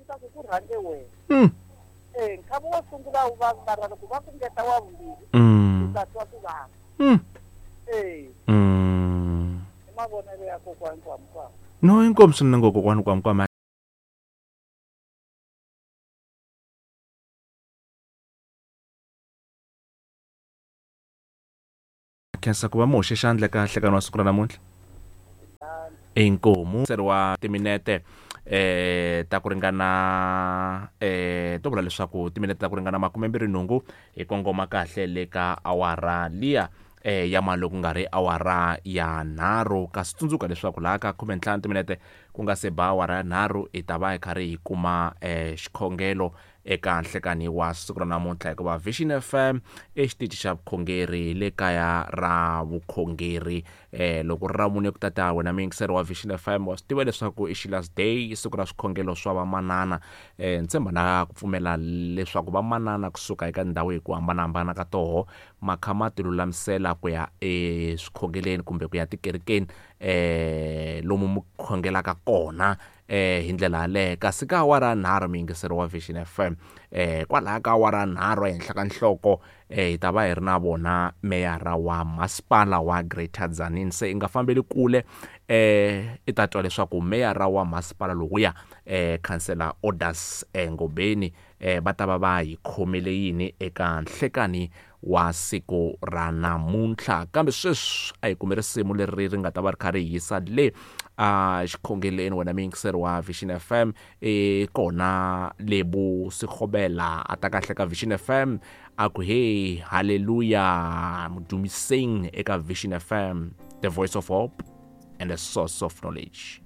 leswaku ku rhange wena. Nkhavi wo sungula wu vavi mara loko va ku ngeta wa vumbirhi u ta twa ku vava. I mavonelo ya kokwani Kwamkwama. No, inkomu swinene ngo kokwani Kwamkwama. Khensa ku va mi hoxe xandla eka nhlekani wa siku ra namuntlha. Inkomu wa timinete ta ku ringana to vula leswaku timinete ta ku ringana 28 hi kongoma kahle le ka awara liya ya mali ku nga ri awara ya 3. Kasi tsundzuka leswaku laha ka 15 timinete ku nga se ba awara ya 3 hi ta va hi karhi hi kuma xikhongelo eka nhlekani wa siku ra namuntlha, hikuva Vision FM i xitichi xa vukhongeri le kaya ra vukhongeri. Loko ri ra mune ku tata wena muyingiseri wa Vision FM wa swi tiva leswaku i Sheila's Day, i siku ra swikhongelo swa vamanana. Ni tshemba na ku pfumela leswaku vamanana kusuka eka ndhawu hi ku hambanahambana ka toho ma kha ma ti lulamisela ku ya eswikhongeleni kumbe ku ya tikerekeni lomu mi khongelaka kona hi ndlela yaleyo. Kasi ka awara ya 3 muyingiseri wa Vision FM kwalaya ka awara ya 3 ehenhla ka nhloko hi ta va hi ri na vona meyara wa masipala wa Greater Tzaneen. Se i nga fambeli kule i ta twa leswaku meyara wa masipala lowuya Councillor Odas Ngobeni va ta va va hi khomele yini eka nhlekani wa siku ra namuntlha. Kambe sweswi a hi kume risimu leri ri nga ta va ri kha ri hisa le a xikhongeleni. Wena muyingiseri wa Vision FM i kona Lebo Sekgobela a ta kahle ka Vision FM a ku hey hallelujah mudumiseng eka Vision FM, the voice of hope and the source of knowledge.